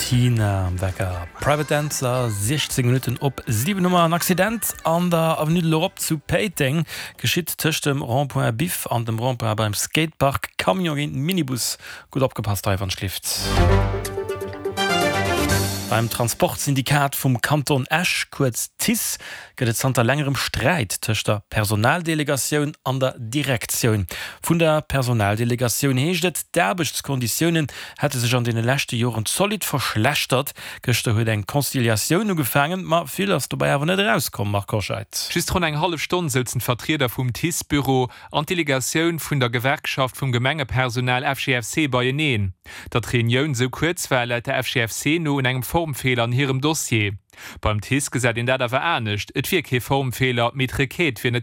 Tina am Wecker. Private Dancer, 16 Minutten op 7 hu mer en Accident an der Avenue de l'Europe zu Péiteng. Geschitt tëscht dem Rond-point Biff an dem Rond-point beim Skatepark. Camion géint Minibus. Gutt opgepasst hei wann schlift. Beim Transportsyndikat vum Kanton Esch, kuerz TICE, gëtt et zanter längerem Sträit tëscht der Personaldelegatioun an der Direktioun. Vun der Personaldelegatioun heescht et, d'Aarbechtskonditiounen hätte sech an deene leschte Joren zolidd verschlechtert. Gëschter huet eng Conciliatioun ugefaangen, ma vill ass dobäi awer net erauskomm, Marc Hoscheid. Just ronn eng hallef Stonn souzen d'Vertrieder vum TICE-Büro an d'Delegatioun vun der Gewerkschaft vum Gemengepersonal FGFC beieneen. Datt d'Reunioun esou kuerz war, läit der FGFC no un engem Formfeeler an hirem Dossier. Beim TICE gesäit een dat awer anescht, Et wier kee Formfeeler, mee d'Requête wier net.